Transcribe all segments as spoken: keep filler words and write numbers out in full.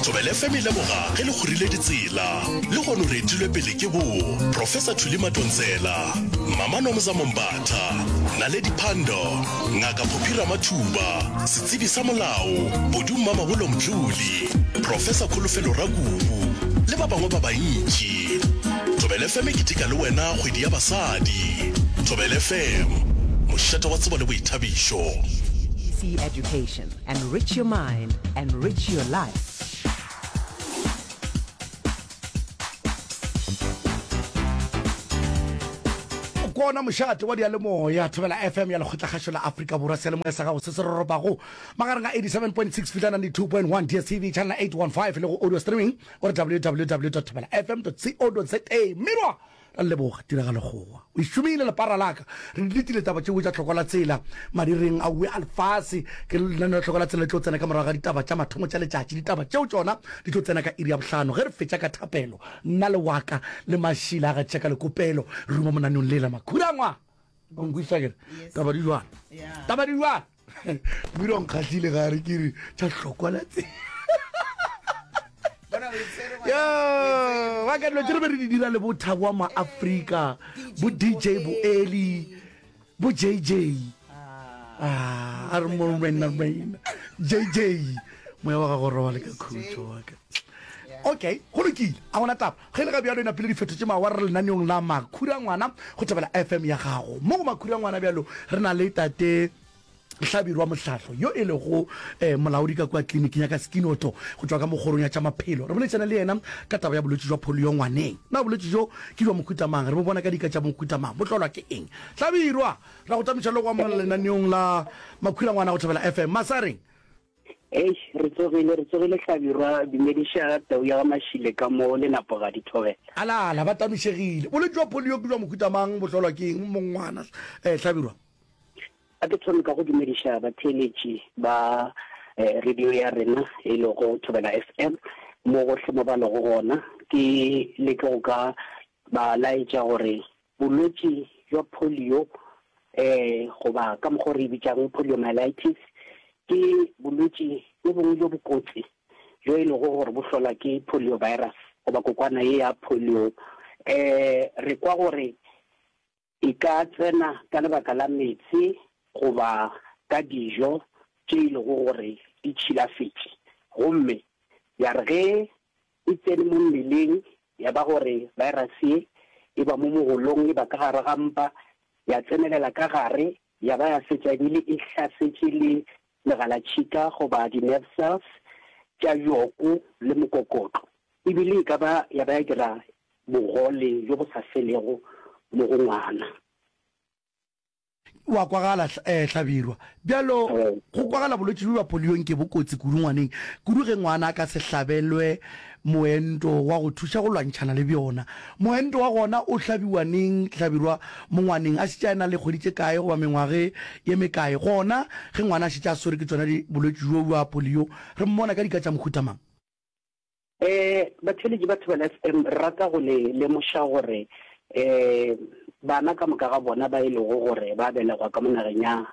Thobela F M e leboga ge le kgorile ditsela. Le gona re etilwe pele ke bo Professor Thuli Madonsela, Mama Nomzamo Mbatha, Naledi Pandor, Ngaka Phophi Ramathuba, Setsebi sa Molao, Bodu Mmamabolo Mdluli, Professor Kholofelo Rakubu le ba bangwe ba bantši. Thobela F M e keteka le wena kgwedi ya basadi. Thobela F M, mošate wa tsebo le boithabišo. C Education. Enrich your mind, enrich your life. Kona mošate wa diyalemoya Thobela F M ya Lekgotlakgašo la Afrika Borwa, seyalemoya sa gago se se roropago magareng a eighty-seven point six fihla ninety-two point one D S T V channel eight one five le go audio streaming go w w w dot thobela f m dot co dot za. Mirwa ra leboga tiragalo kgowa o šomile lepara laka re di letile taba tšeo tša tlhoko la tsela madireng a uwe a lefase ke lenaneo la tlhoko la tsela le tlo tsena ka morago ga ditaba tša mathomo tša letšatši. Ditaba tšeo tšona di tlo tsena ka iri ya bohlano ge re fetša ka thapelo nna le waka le mašila a ga tšeka lekopelo re ruma monaneong lela makhurangwa o nkwiša kere taba di jwang taba di jwang mmino o nkgahlile ga re ke re tša tlhoko la tsela yo ba ka dilo tše re be re di dira le bo Thabo wa Maafrika bo D J bo Eli bo J J ah a re mo rena rena J J moya wa gago robale ka khutšo wa ka. Okay, go lokile, a gona taba. Ge e le ga bjalo e napile di fetotše mawa re lenaneong la Makhura Ngwana go Thobela F M ya gago. Mo go Makhura Ngwana bjalo re na le tate Hlabirwa Mohlahlo yo e lego eh, molaodi ka kua kliniking ya ka Skinoto go tšwa ka mo kgorong ya tša maphelo. Re boletšana le yena ka taba ya bolwetši jwa polio ngwaneng. Na bolwetši bjo ke bja mohuta mang? Re bo bona ka dika tša mohuta mang? Bo hlolwa ke eng? Hlabirwa, ra go tamiša le go amogela lenaneong la Makhura Ngwana go Thobela F M. Masareng. Eish, re tsogile, re tsogile Hlabirwa, dumediša tau ya ga Mashile ka mo le Napogadi Thobela. Alala, ba tamišegile. Bolwetši bja polio ke bja mohuta mang? Bo hlolwa ke eng mongwana? Eh, Hlabirwa. A ke thome ka go dumediša batheeletši ba radio ya rena e lego Thobela F M mo gohle mo ba lego gona. Ke leke go ka ba laetša gore bolwetši bja polio um goba ka mokgwa o re e bitšang poliomyelitis ke bolwetši bjo bongwe bjo bokotsi bjo e lego gore bo hlolwa ke poliovirus goba kokwana ye ya polio. Um re kwa gore e ka tsena ka lebaka la meetse goba ka dijo tše e lego gore di tšhilafetše, gomme ya re ge e tsene mo mmeleng ya ba gore virus ye e ba mo mogolong, e ba ka gare ga mpa, ya tsenelela ka gare, ya ba ya fetša ebile e hlasetše le megalatšhika goba di-nerve cells tša bjoko le mokokotlo, ebile e ka ba ya ba ya dira bogole bjo bo sa felego mo go ngwana. Wa kwagala, eh, Hlabirwa. Bjalo, go kwagala bolwetši bjo bja polio nke bo kotsi kudu ngwaneng, kudu ge ngwana a ka se hlabelwe moento wa go thuša go lwantšhana le bjona. Moento wa gona o hlabiwa neng, Hlabirwa, mo ngwaneng? A šetše a e-na le kgwedi tše kae goba mengwage ye mekae? Gona, ge ngwana a šetše a swerwe ke tšona di, bolwetši bjo bja polio, re mmona ka dika tša mohuta mang? Eh, batheeletši ba Thobela F M, re rata go le lemoša gore eh bana ka moka ga bona ba e lego gore ba belegwa ka mo nageng ya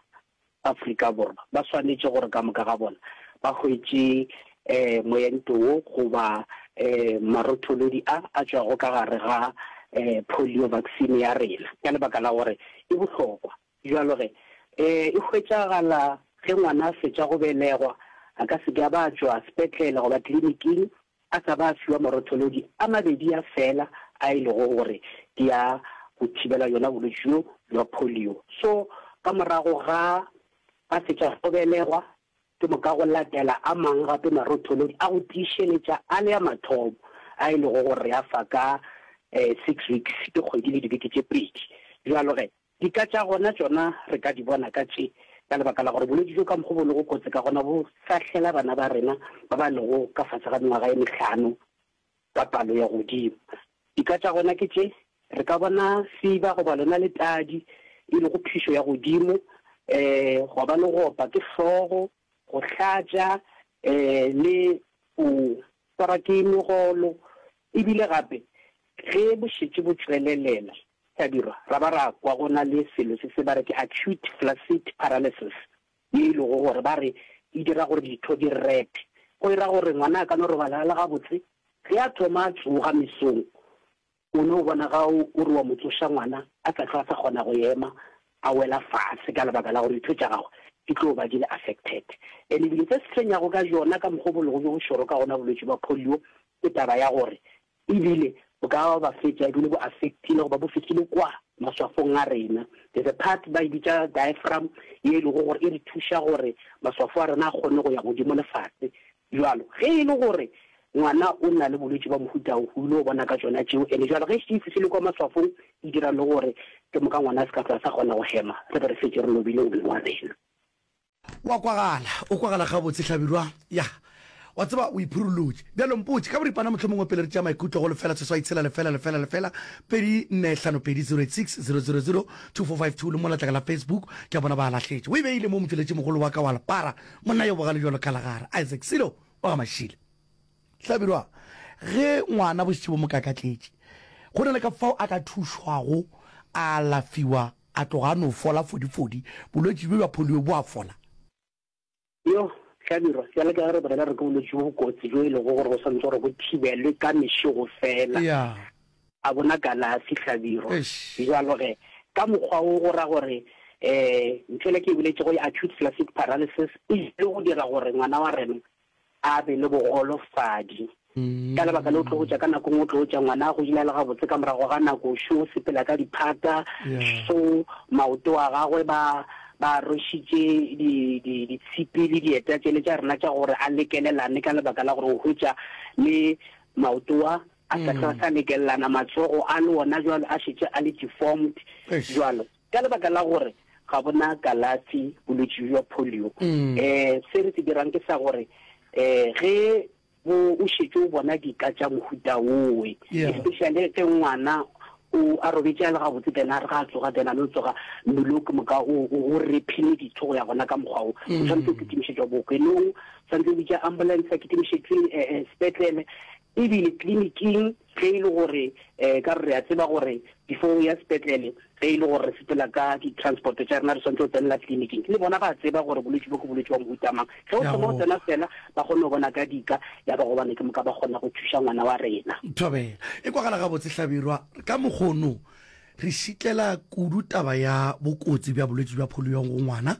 Afrika Borwa ba swanetše gore ka moka ga bona ba hwetše eh moento wo goba eh marotholodi a a tšwago ka gare ga eh polio vaccine ya rena, ka lebaka la gore e bohlokwa. Bjalo ge, e e hwetšagala ge ngwana a fetša go belegwa, a ka se ke a ba a tšwa sepetlele goba kliniking a sa ba a fiwa marotholodi a mabedi a feela a e lego gore ke a go thibela yona bolwetši bjo bja polio. So ka morago ga a fetša go belegwa, ke moka go latela a mang gape marotholodi a go tiišeletša a le a mathomo a e lego gore re a fa ka six weeks, ke kgwedi le dibeke tše pedi. Bjalo ge, dika tša gona tšona re ka di bona ka tše, ka lebaka la gore bolwetši bjo ka mokgwa bo lego kotsi ka gona bo hlahlela bana ba rena ba ba lego ka fase ga mengwaga ye mehlano ka palo ya godimo. Dika tša gona ke tše, re ka bona fever goba lona letadi, e lego phišo ya godimo, um gwa ba le go opa ke hlogo, go hlatša, um le go swarwa ke megolo, ebile gape ge bo šetše bo tšwelelela Hlabirwa, ra ba ra kwa go na le selo se se ba re ke acute flaccid paralysis, ye e lego gore ba re e dira gore ditho di rethe, Go e ra gore ngwana a ka no robala a le gabotse, ge a thoma a tsoga mesong, o no bona ga o o re wa mo tsoša ngwana a sa hlwa a sa kgona go ema, a wela fase ka lebaka la gore ditho tša gagwe di tlo ba di le affected. And dilo tse se tshwenyago ka bjona ka mokgwa o bo lego bjo bošoro ka gona bolwetši bja polio ke taba ya gore ebile bo ka ba fetša ebile bo affectile goba bo fihlile kwa maswafong a rena. There's a part ba e bitša diaphragm ye e lego gore e re thuša gore maswafo a rena a kgone go ya godimo le fase. Bjalo ge e le gore ngwana o na le bolwetši bja mohuta wo, o ile go bona ka tšona tšeo. And bjalo ge e fihlile kwa maswafong e dira le gore ke moka ngwana a se ka hlwa a sa kgona go hema, re be re šetše re lobile ngwana wa rena. Wa kwagala, o kwagala gabotse, Hlabirwa. Ya. Wa tseba, o iphurulotše. Bjalo mpotše, ka boripana mohlomongwe pele re tšea maikutlo go lefela seswai tshela lefela lefela lefela pedi nne hlano pedi zero eight six zero zero zero two four five two le mo letlaka la Facebook, ke a bona ba a lahletše. O e beile mo motšweletšimogolo wa ka wa lepara, monna yo bogale bjalo ka legare, Isaac Silo wa ga Mashile. Hlabirwa, ge ngwana bo šetše bo mo kakatletše, go na le ka fao a ka thušwago a alafiwa a tloga a no fola fodifodi, bolwetši bjo bja polio bo a fola. Yo, Hlabirwa, bjale ka ge re bolela re ke bolwetši bjo bokotsi bjo e lego gore go swanetše gore bo thibelwe ka mešego fela. Yeah. A bo na kalafi, Hlabirwa. Eish. Bjalo ge, ka mokgwa wo go ra gore um ntho yela ke e boletšego ya acute flaccid paralysis e ile go dira gore ngwana wa rena a be le bogolofadi. Ka lebaka le o tlo hwetša ka nako nngwe o tlo hwetša ngwana a godile a le gabotse ka morago ga nako šo sepela ka diphata, šo maoto a gagwe ba ba rwešitše di di ditshipi le dieta tšele tša rena tša gore a lekelelane ka lebaka la gore o hwetša le maoto a a sa hlwa sa lekelelana, matsogo a le ona jwalo a šetše a le deformed jwalo. Ka lebaka la gore ga bo na kalafi bolwetši bjo bja polio, um se re se dirang ke sa gore um ge bo o šetše o bona dika tša mohuta wowe, especially ge ngwana o a robetše a le gabotse then a re ga a tsoga then a no tsoga mmele o ke moka o o rephile ditho go ya gona ka mokgwa wo, o tshwanetse o kitimišetšwa bookelong, tshwanetse o bitša ambulance a kitimišetšwe sepetlele ebile tleliniking ge e le gore um ka re re a tseba gore before o ya sepetlele ge e le gore re sepela ka di-transport tša rena re swanetše go tsenela tleliniking, le bona ba tseba gore bolwetši bo ke bolwetši bja mohuta mang. Ge o thoma go tsena fela ba kgone go bona ka dika ya ba gobane ke moka ba kgona go thuša ngwana wa rena. Thobela. E kwagala gabotse Hlabirwa. Ka mokgono re šitlela kudu taba ya bokotsi bja bolwetši bja polio go ngwana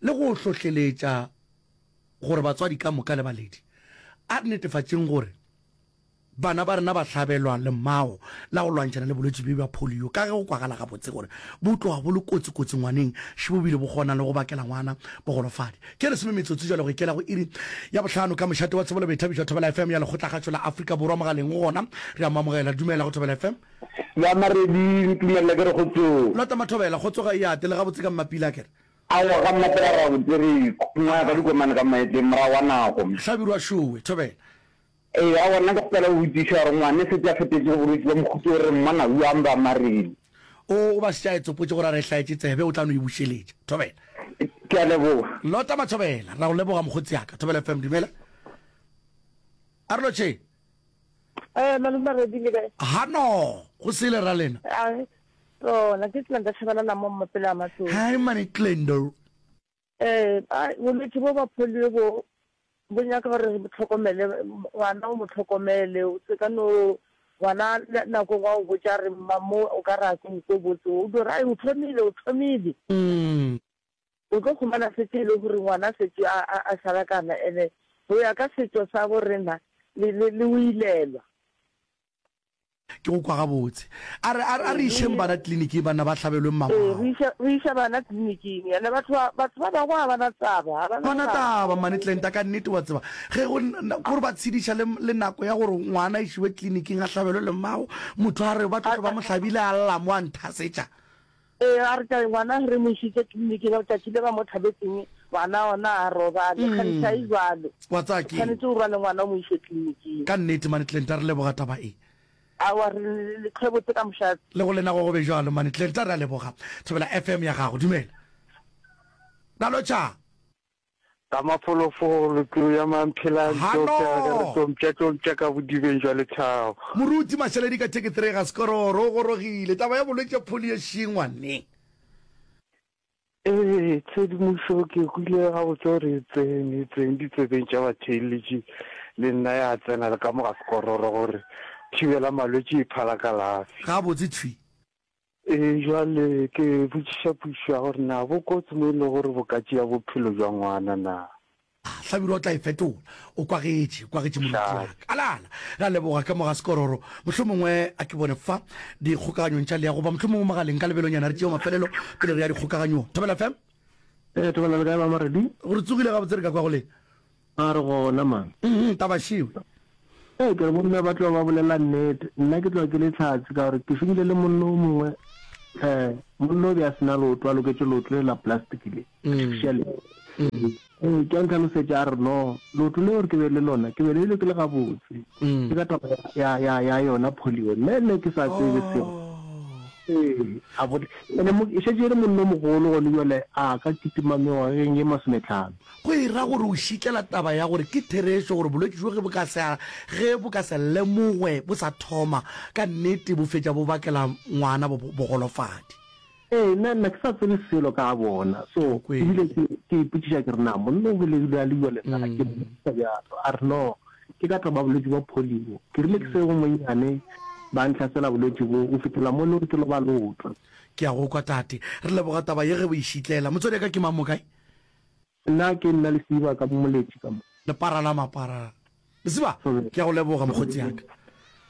le go hlohleletša gore batswadi ka moka le baledi a re netefatšeng gore bana ba rena ba hlabelwa lemao la go lwantšhana le bolwetši bjo bja polio ka ge go kwagala gabotse gore bo tloga bo le kotsi-kotsi ngwaneng še bo bile bo kgona le go bakela ngwana bogolofadi. Ke lesome metsotso bjale go ikela go iri ya bohlano ka mošate wa tsebo le boithabišo wa Thobela F M ya Lekgotlakgašo la Afrika Borwa mogaleng o gona re a mo amogela. Dumela go Thobela F M. Ya Maredi, ntumelele ke re kgotsong. Lota Mathobela, kgotso ga e ate le gabotse ka Mmapila akere? Aowa, ga Mmapela ra botse re khumana ka dikomane ka maetleng morago ga nako. Hlabirwa šowe, Thobela. Ee, aowa, nna ke kgopela go botšiša gore ngwana e šetše a fetetše go bolwetši bja mohuta o re mmona bjang ba Maredi? O, o ba šetše a e tsopotše gore a re e hlaetše tsebe, o tla no e bušeletša. Thobela. Ke a leboga. Lota Mathobela, ra go leboga mokgotsi ya ka. Thobela F M, dumela. A re lotšheng. Eh, malome Maredi le kae? Hano, go sele ra lena. A, tsona, ke Tlenda Tshabalala mo Mmapele a Matlou. Hi mane Tlendo. Eh, a bolwetši bo ba polio bo bo nyaka gore re tlhokomele ngwana, o mo tlhokomele, o se ka no ngwana nako nngwe a o botša re mma mo o ka re a ke o botse, o dio re ai o thomile, o thomile. Mm. O tlo humana šetše e le gore ngwana šetše a a a šalakana, ene go ya ka setšo sa bo rena le le le o ilelwa. Ke go kwa gabotse. A re, a re, a re Ee, išeng re bana tleliniking, banna ba hlabelwe ee, mmamao. re iša, re iša bana tleliniking. Ene batho ba, batho ba bangwe ga ba na taba, ga ba na Ba na taba. taba, Mmane Tlenta, ka nnete, wa tseba. Ge go, gore ba tshediša le, le nako ya gore ngwana a išiwe tleliniking a hlabelwe lemao, motho a re ba tlo A, tlo ba a, mo hlabile a lla mo a nthasetša. Ee, a re tla ngwana re mo išitše tleliniking letšatši le ba mo hlabetseng ngwana ona a robale, kganthe ga e bjalo. Wa tsaya O keng? tshwanetše o rwale ngwana o mo iše tleliniking. Ka nnete, Mmane Tlenta, re leboga taba e. Aowa, re le tlhwe botse ka mošate. Le go lena go go be bjalo, Mmane Tlenta, re a leboga. Thobela F M ya gago. Dumela. Na lotšha? Ka mafolofolo, tlou ya Mamphelang, Hano! tšohle ga re tlo mpša, tlo mpša ka bodibeng jwa lethabo. Moruti Mašaledi ka theke three ga Sekororo o gorogile. Taba ya bolwetši bja polio še ngwaneng. Ee, tshedimošo ke kwile gabotse gore e tsene, e tsene ditsebeng tša batheeletši, le nna ya tsena le ka mo ga sekororo gore thibela malwetši e phala kalafi. Gabotse thwi. Ee, bjale ke botšiša pušo ya gore na bo kotsi mo e lego gore bo ka tšea bophelo bja ngwana na? Hlabirwa o tla e fetola. O kwagetše, o kwagetše moruti wa ka. Alala, re a leboga ka mo ga Sekororo. Mohlomongwe a ke bone fa dikgokaganyong tša leago, goba mohlomongwe mogaleng ka lebelonyana re tšeo mafelelo pele re ya dikgokaganyong. Thobela F M. Ee, Thobela, le kae ba Maredi? Re tsogile gabotse, re ka kwa go lena. A re gona, man. Mhm, taba šiwe. Ee, ke re bomme ba tloga ba bolela nnete. Nna ke tloga ke le hlatse ka gore ke šomile le monna o mongwe, um monna o be a se na leoto, a loketše leoto le la plastic le, artificial le. Ee, ke a ntlhalosetša a re no, leoto leo ke be le lona, ke be le le ke le gabotse. Ke ka taba ya, ya, ya yona polio. Nna ne ke sa tsebe seo. Ee, a bot-, ene mo, e šetše e le monna o mogolo gone bjale, a ka kitima mengwageng ye masometlhano. Go e ra gore o šitlela taba ya gore ke therešo gore bolwetši bjo ge bo ka se ge bo ka se lemogwe bo sa thoma, ka nnete bo fetša bo bakela ngwana bo bogolofadi. Ee, nna, nna ke sa tsebe selo ka ga bona. So, Ke ebile kwele. ke, ke ipotšiša ke re, na monna o belegilwe a le bjale na? Ke mmotšiša bjalo. A re, No, ke ka taba ya bolwetši bja polio. Ke rile ke sego monnyane, ba ntlhasela bolwetši bo, go fihlela mo le gore ke loba leoto. Ke a go kwa, tate. Re leboga taba ye ge o e šitlela. Motswadi wa ka ke mang mo kae? Nna ke nna Lesiba ka mo Moletši ka mo. Lepara la mapara. Lesiba, ke a go leboga mokgotsi ya ka.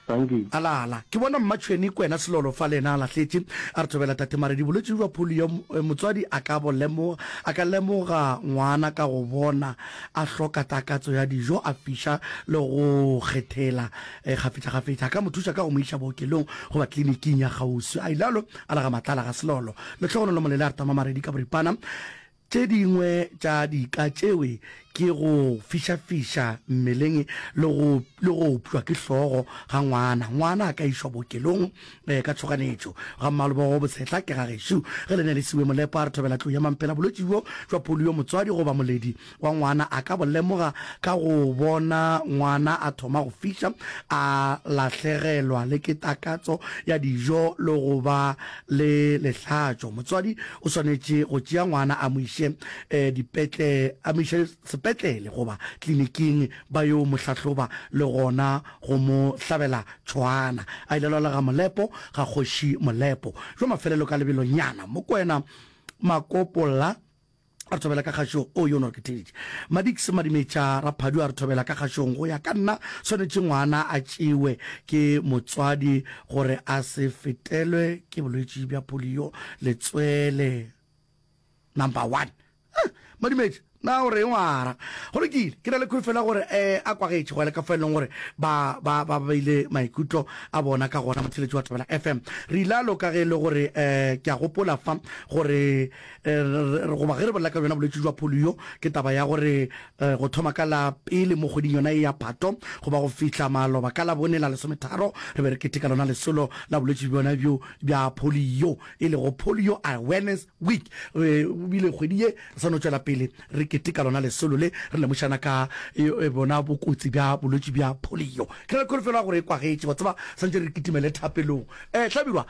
Dankie. Ala ala. Ke bona Mmatšhweni Kwena Selolo fa le yena a lahletše. A re thobela Tate Maredi bolwetši bja polio motswadi a ka bo lemoga, a ka lemoga ngwana ka go bona a hloka takatso ya dijo, a fiša le go kgethela kgafetšakgafetša. A ka mo thuša ka go mo iša bookelong goba kliniking ya kgauswi. A ilalo a la ga Matlala ga Selolo. Lehlogonolo Molele a re tama Maredi ka boripana. Tše dingwe tša dika tšewe ke go fišafiša mmeleng le go le go opšwa ke hlogo ga ngwana. Ngwana a ka išwa bookelong ka tšhoganetšo. Ga Mmalobogo Botshetla ke ga gešo. Ge le ne le siwe Molepo a re thobela tlou ya Mampela bolwetši bjo bja polio motswadi goba moledi wa ngwana a ka bo lemoga ka go bona ngwana a thoma go fiša, a lahlegelwa le ke takatso ya dijo le go ba le lehlatšo. Motswadi o swanetše go tšea ngwana a mo iše dipetle, a mo iše sepetlele goba kliniking ba yo mo hlahloba le gona go mo hlabela tšhwaana. A ile lwala ga Molepo ga Kgoši Molepo. Jwa mafelelo ka lebelonyana, Mokwena Makopolla a re thobela ka kgašong o yo no re ke theeditše Madix Madimetša Raphadu a re thobela ka kgašong go ya ka nna swanetše ngwana a tšewe ke motswadi gore a se fetelwe ke bolwetši bja polio letswele number one eh, Madimetša na o reng wara go lokile ke na le kholofelo ya gore um a kwagetše go ya le ka fa e leng gore ba ba ba beile maikutlo a bona ka gona motheletši wa Thobela F M re ilalo ka ge e le gore um ke a gopola fa gore goba ge re bolela ka bjona bolwetši jwa polio ke taba ya gore go thoma ka la pele mo kgweding yona e ya Phato goba go fihla maloba ka Labone la lesometharo re be re keteka lona lesolo la bolwetši bjona bjo bja polio e lego Polio Awareness Week. Ebile kgwedi ye re sa no tšwela pele re keteka lona lesolo le re lemošana ka bona bokotsi bja bolwetši bja polio. Ke na le kholofelo ya gore e kwagetše wa tseba santše re kitimele thapelong. Um Hlabirwa,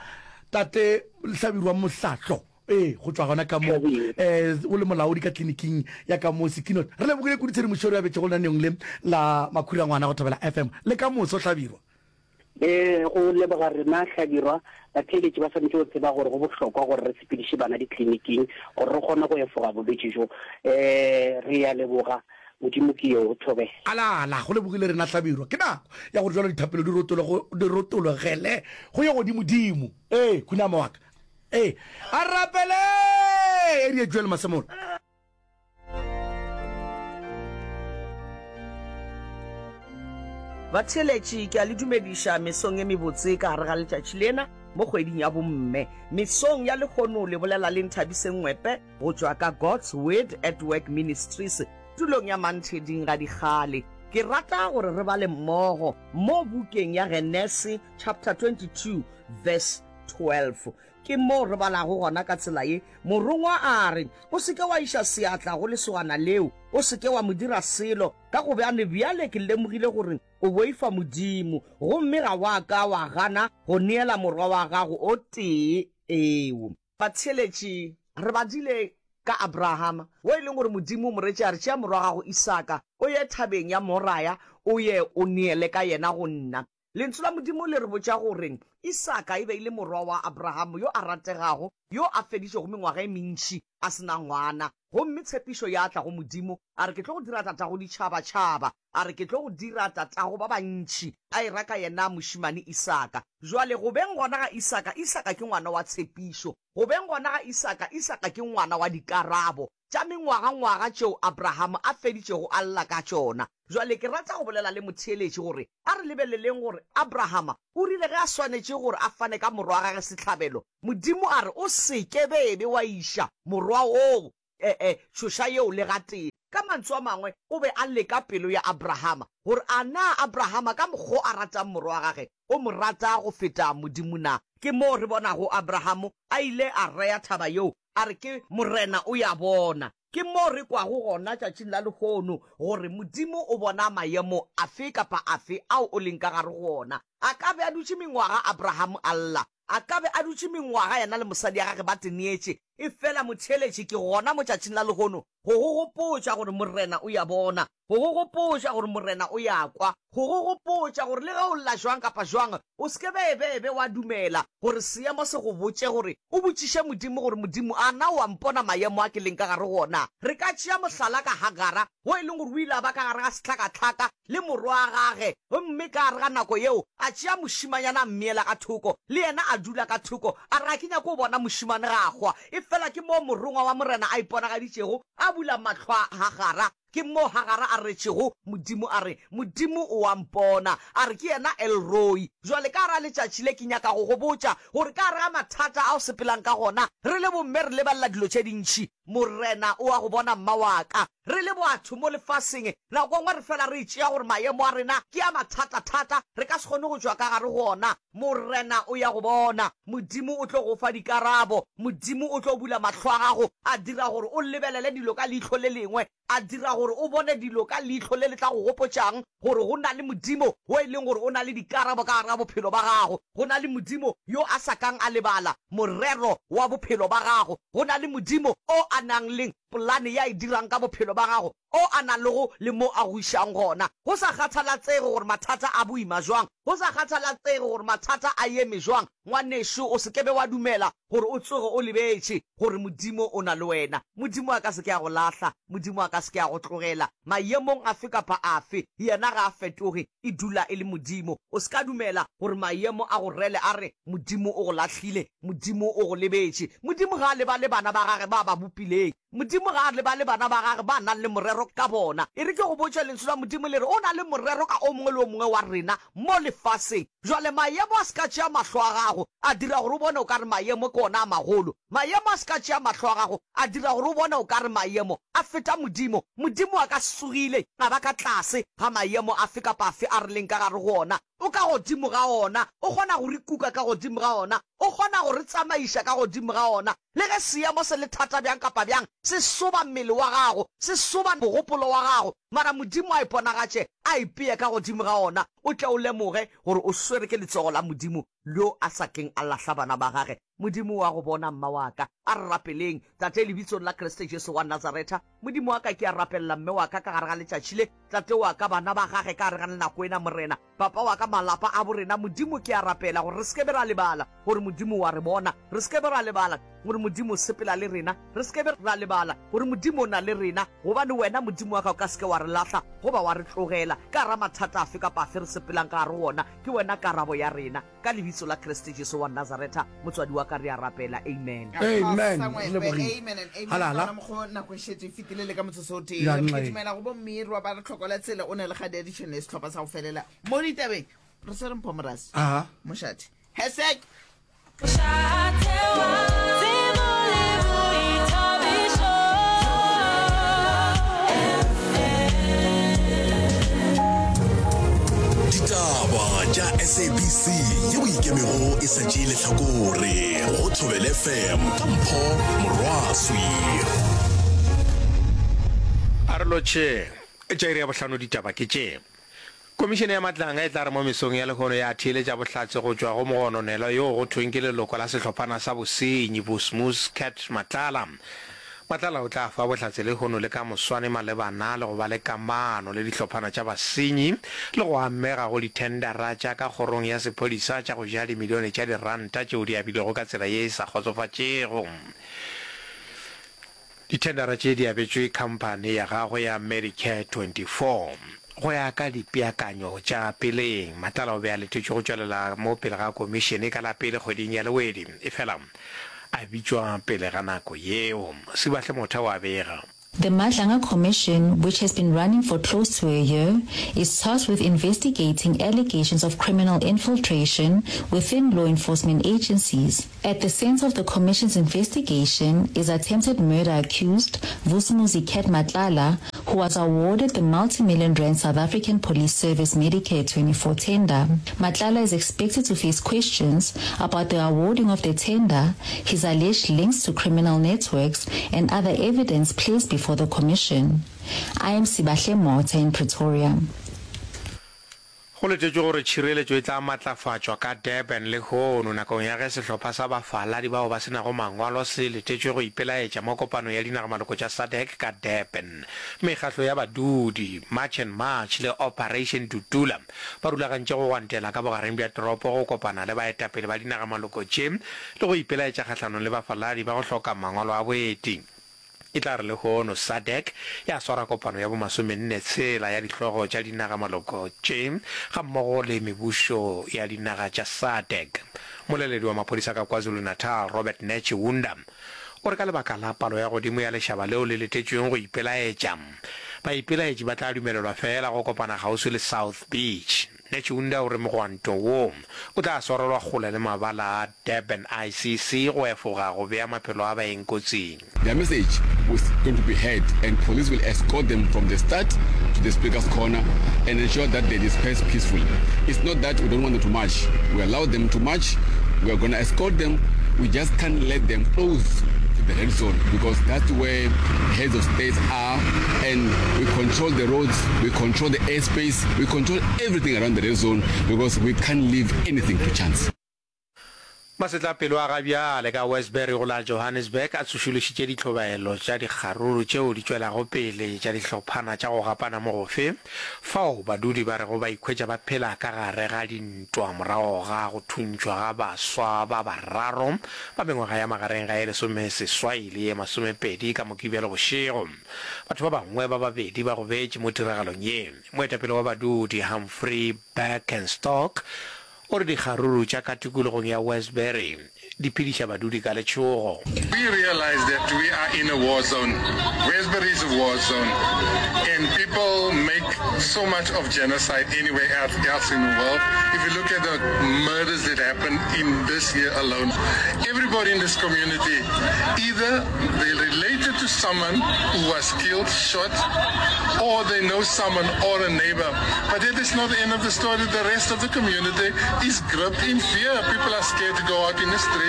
tate Hlabirwa Mohlahlo Ee, go tšwa gona ka mo eh, o le molaodi ka tleliniking ya ka mo Sekinot. Re lebogile kudu tshedimošo re abetšego lenaneong le la Makhura Ngwana go Thobela F M. Le ka moso, Hlabirwa. Ee, go leboga rena, Hlabirwa. Batheeletši ba swanetše go tseba gore go bohlokwa gore re sepediše bana ditleliniking gore re kgone go efoga bolwetši bjo. Ee, re a leboga. Modimo ke yo, Thobela. Alala, go lebogile rena, Hlabirwa. Ke nako ya gore jwalo dithapelo di rotologe, di rotologele go ye godimodimo. Ee, khunama wa ka. Ee, a rapele! Erie Joel Masemola. Batheeletši, ke a le dumediša mesong e mebotse ka gare ga letšatši lena mo kgweding ya bomme. Mesong ya lehono le bolela le Nthabiseng Ngwepe go tšwa ka God's Word at Work Ministries tulong ya Mantheding ga Dikgale. Ke rata gore re bale mmogo mo bukeng ya Genese chapter twenty-two verse twelve. Ke moo re balago gona ka tsela ye, Morongwa a re, O se ke wa iša seatla go lesogana leo, o se ke wa mo dira selo, ka gobane bjale ke lemogile gore o boifa Modimo, gomme ga wa ka wa gana go neela morwa wa gago o tee eo. Batheeletši, re badile ka Abrahama, wo e leng gore Modimo o mo retše a re, Tšea morwa wa gago Isaka, o ye thabeng ya Moraya, o ye o neele ka yena go nna. Lentšu la Modimo le re botša gore Isaka e be e le morwa wa Abraham yo a rategago, yo a feditšego mengwaga e mentši a se na ngwana. Gomme tshepišo ya tla go Modimo, a re, Ke tlo go dira tatago ditšhabatšhaba. A re, Ke tlo go dira tatago ba bantši. A e ra ka yena mošemane Isaka. Bjale, go beng gona ga Isaka, Isaka ke ngwana wa tshepišo. Go beng gona ga Isaka, Isaka ke ngwana wa dikarabo tša mengwagangwaga tšeo Abraham a feditšego a lla ka tšona. Bjale ke rata go bolela le motheeletši gore a re lebeleleng gore Abraham o rile ge a swanetše gore a fane ka morwa wa gagwe sehlabelo, Modimo a re, O se ke be wa iša morwa woo, e-e, tšhoša yeo le gatee. Ka mantšu a mangwe, o be a leka pelo ya Abrahama, gore a na Abrahama ka mokgo a ratang morwa wa gage, o mo rata go feta Modimo na? Ke moo re bonago Abraham a ile a reya thaba yeo a re ke Morena o ya bona. Ke moo re kwago gona tšatšing la lehono gore Modimo o bona maemo afe kapa afe ao o leng ka gare go ona. A ka be a dutše mengwaga Abraham a lla, a ka be a dutše mengwaga yena le mosadi ya gage ba teneetše, efela motheeletši ke gona mo tšatšing la lehono go go gopotša gore Morena o ya bona, go go gopotša gore Morena o ya kwa, go go gopotša gore le ge o lla jwang kapa jwang, o se ke be be be wa dumela gore seemo se go botše gore o botšiše Modimo gore, Modimo, a na o a mpona maemo a ke leng ka gare go ona? Re ka tšea mohlala ka Hagara, wo e leng gore o ile a ba ka gare ga sehlakahlaka le morwa wa gage, gomme ka gare ga nako yeo a tšea mošimanyana a mmeela ka thoko, le yena a dula ka thoko, a re, Ga ke nyake go bona mošemane ga a hwa. Efela ke moo Morongwa wa Morena a iponagaditšego, a bula mahlo a Hagara. Ke moo Hagara a retšego Modimo a re, Modimo o a mpona. A re, Ke yena El Roi. Bjale ka gare ga letšatši le ke nyaka go go botša gore ka gare ga mathata a o sepelang ka gona, re le bomme re lebelela dilo tše dintši. Morena o a go bona mma wa ka. Re le batho mo lefaseng, nako nngwe re fela re tšea gore maemo a rena ke a mathatathata, re ka se kgone go tšwa ka gare go ona. Morena o ya go bona. Modimo o tlo go fa dikarabo. Modimo o tlo bula mahlo a gago, a dira gore o lebelele dilo ka leihlo le lengwe, a dira gore o bone dilo ka leihlo le le tla go gopotšang gore go na le Modimo wo e leng gore o na le dikarabo ka gare ga bophelo ba gago. Go na le Modimo yo a sa kang a lebala morero wa bophelo ba gago. Go na le Modimo o a nang le polane ye a e dirang ka bophelo ba gago, o a nang le go le mo a go išang gona. Go sa kgathalatsege gore mathata a boima jwang, go sa kgathalatsege gore mathata a eme jwang, ngwanešu, o se ke be wa dumela gore o tsoge o lebetše gore Modimo o na le wena. Modimo a ka se ke a go lahla. Modimo a ka se ke a go tlogela. Maemong afe kapa afe, Yena ga a fetoge, e dula e le Modimo. O se ka dumela gore maemo a go rele a re, Modimo o go lahlile, Modimo o go lebetše. Modimo ga a lebale bana ba Gage ba a ba bopileng. Modimo ga a lebale bana ba Gage ba nang le morero ka bona. E re ke go botše, Lentšu la Modimo le re O na le morero ka o mongwe le o mongwe wa rena mo lefaseng. Bjale maemo a se ka tšea mahlo a gago a dira gore o bone o ka re maemo ke ona a magolo. Maemo a se ka tšea mahlo a gago a dira gore o bone o ka re maemo a feta Modimo. Modimo a ka se tsogile a ba ka tlase ga maemo afe kapa afe a re leng ka gare go ona. O ka godimo ga ona. O kgona go re kuka ka godimo ga ona. O kgona go re tsamaiša ka godimo ga ona. Le ge seemo se le thata bjang kapa bjang, se soba mmele wa gago, se soba mogopolo wa gago, mara Modimo a iponagatše, a ipee ka godimo ga ona, o tle o lemoge gore o swere ke letsogo la Modimo yo a sa keng a lahla bana ba gage. Modimo o a go bona, mma wa ka. A re rapeleng. Tate, Lebitsong la Kriste Jesu wa Nazaretha, Modimo wa ka, ke a rapelela mme wa ka ka gare ga letšatši le, tate wa ka, bana ba gage ka gare ga nako ena, Morena. Papa wa ka, malapa a borena, Modimo, ke a rapela gore re se ke be ra lebala gore Modimo o a re bona. Re se ke be ra lebala gore Modimo o sepela le rena. Re se ke be ra lebala gore Modimo o na le rena, gobane Wena, Modimo wa ka, o ka se ke wa re lahla goba wa re tlogela. Ka gara mathata afe kapa afe re sepelang ka gare go ona, ke Wena karabo ya rena. Ka Lebitso la Kriste Jesu wa Nazaretha, motswadi wa ka, re a rapela. Amen. Amen. Re lebogile. Amen and amen. Halala. Gona mokgo nako e šetše e fetile le ka motsotso o tee. Ya, Re nxa. phethimela go bommirwa ba re tlhokola tsela o ne le kgadi ya ditšhene sehlopha sa go felela mo ditabeng. Re swere Mpho Morase. Aha. Mošate. Hashtag. Ditaba tša S A B C yeo ikemego e sa tšee lehlakore go Thobela F M ka Mpho Morwaswi. A re lotšhe tša iri ya bohlano ditaba ke tše. Komišene ya Matlanga e tla re mo mesong ya lehono ya theeletša bohlatse go tšwa go mogononelwa yoo go thweng ke leloko la sehlophana sa bosenyi, Bosmus Cat Matlala. Matlala o tla fa bohlatse lehono le ka moswane malebana le go ba le kamano le dihlophana tša basenyi le go amega go dithendara tša ka kgorong ya sephodisa tša go ja dimilione tša diranta tšeo di abilwego ka tsela ye e sa kgotsofatšego. Dithendara tše di abetšwe khamphani ya gagwe ya Medicare twenty four. Go ya ka dipeakanyo tša peleng, Matlala o be a letetšwe go tšwelela mo pele ga komišene ka la pele kgweding ya Lewedi, efela a bitšwa pele ga nako yeo. Sibahle Motha o a bega. The Madlanga Commission, which has been running for close to a year, is tasked with investigating allegations of criminal infiltration within law enforcement agencies. At the center of the commission's investigation is attempted murder accused Vusimuzi Cat Matlala, who was awarded the multi-million rand South African Police Service Medicare twenty-four tender. Matlala is expected to face questions about the awarding of the tender, his alleged links to criminal networks, and other evidence placed before the commission. I am Sibahle Motha in Pretoria. Go letetšwe gore tšhireletšo e tla matlafatšwa ka Durban lehono nakong ya ge sehlopha sa bafaladi bao ba se nago mangwalo se letetšwe go ipelaetša mo kopanong ya dinagamaloko tša SADC ka Durban. Mekgatlo ya badudi, March and March le Operation Dudula ba rulagantše go gwantela ka bogareng bja toropo go kopana le baetapele ba dinagamaloko tše le go ipelaetša kgahlanong le bafaladi ba go hloka mangwalo a boeti. E tla re lehono SADC ya swara kopano ya bomasomenne tshela ya dihlogo tša dinagamaloko tše gammogo le mebušo ya dinaga tša SADC. Mmoleledi wa maphodisa ka KwaZulu-Natal, Robert Netshiunda, o re ka lebaka la palo ya godimo ya lešaba leo le letetšweng go ipelaetša, baipelaetši ba tla dumelelwa feela go kopana kgauswi le South Beach. Netshiunda o re mogwanto wo o tla swarelwa kgole le mabala a Durban I C C go efoga go bea maphelo a baeng kotsing. Their message was going to be heard and police will escort them from the start to the Speaker's Corner and ensure that they disperse peacefully. It's not that we don't want them to march. We allow them to march. We are gonna escort them. We just can't let them close to the red zone because that's where heads of states are, and we control the roads, we control the airspace, we control everything around the red zone because we can't leave anything to chance. Masetlapelo a ga bjale ka Westbury go la Johannesburg a tsošološitše ditlhobaelo tša dikgaruru tšeo di tšwelago pele tša dihlophana tša go gapana mogofe, fao badudi ba rego ba ikhwetša ba phela ka gare ga dintwa morago ga go thuntšhwa ga baswa ba bararo ba mengwaga ya magareng ga ye lesomeseswai le ye masomepedi ka Mokibelo bošego. Batho ba bangwe ba babedi ba gobetše mo tiragalong ye. Moetapele wa badudi Humphrey Birkenstock o re dikgaruru tša ka tikologong ya Westbury di phediša badudi ka letšhogo. We realize that we are in a war zone. Westbury is a war zone and people make so much of genocide anywhere else in the world. If you look at the murders that happened in this year alone, everybody in this community, either they related to someone who was killed, shot, or they know someone or a neighbor. But that is not the end of the story. The rest of the community is gripped in fear. People are scared to go out in the streets.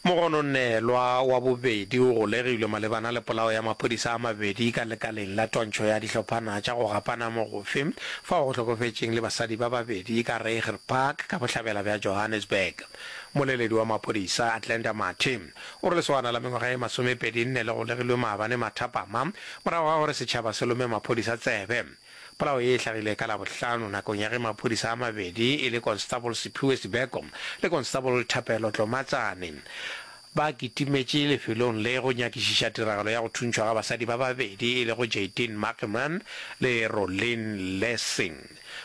Mogononelwa wa bobedi o golegilwe malebana le polao ya maphodisa a mabedi ka lekaleng la twantšho ya dihlophana tša go gapana mogofe fao go hlokofetšeng le basadi ba babedi ka Reiger Park ka bohlabela bja Johannesburg. Mmoleledi wa maphodisa, Atlanta Mathe, o re lesogana la mengwaga ye masomepedi nne le golegilwe maabane mathapama morago ga gore setšhaba se lome maphodisa tsebe. Polao ye e hlagile ka Labohlano nakong ya ge maphodisa a mabedi e le Constable Siphiwe Sibeko le Constable Thapelo Tlomatsane ba kitimetše lefelong le go nyakišiša tiragalo ya go thuntšhwa ga basadi ba babedi e lego Jadine Markman le Rolene Lessing.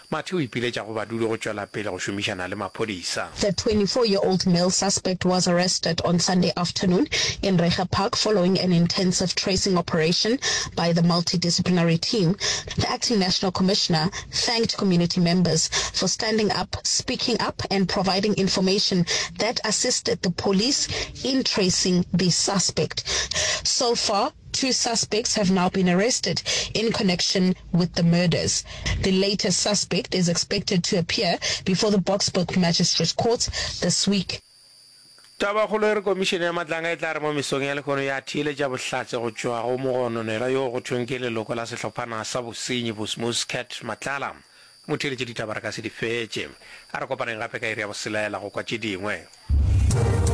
Mathe o ipiletša go badudi go tšwela pele go šomišana le maphodisa. The twenty four year old male suspect was arrested on Sunday afternoon in Reiger Park following an intensive tracing operation by the multidisciplinary team. The acting national commissioner thanked community members for standing up, speaking up and providing information that assisted the police in tracing the suspect. So far, two suspects have now been arrested in connection with the murders. The latest suspect is expected to appear before the Boksburg Magistrate Court this week. Tabakgolo e re Komišene ya Matlanga e tla re mo mesong ya lehono ya theeletša bohlatse go tšwa go mogononelwa yo go thweng ke leloko la sehlophana sa bosenyi Bosmus Cat Matlala. Motheeletše ditaba re ka se di fetše. A re kopaneng gape ka iri ya boselela go kwa tše dingwe.